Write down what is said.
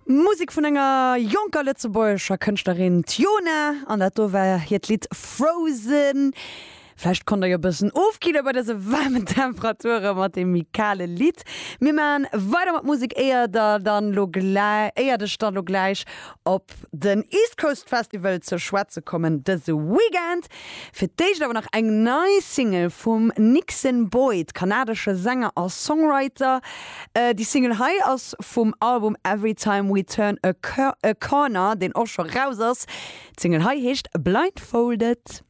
Musek vun enger jonker lëtzebuergescher Kënschtlerin, d'Yona, an dat do war hiert Lidd Frozen. Vläicht konnt der jo e bëssen ofkille bei dëse waarmen Temperature mat deem méi kale Lidd. Mir maachen weider mat Musek, éier der dann lo gläi, éiert ech dann lo gläich op den East Coast Festival ze schwätze kommen dëse Weekend. Fir d'éischt awer nach eng nei Single vum Nixon Boyd, kanadesche Sänger a Songwriter. Déi Single hei ass vum Album Every Time We Turn a Corner, deen och scho raus ass. D'Single hei heescht Blindfolded.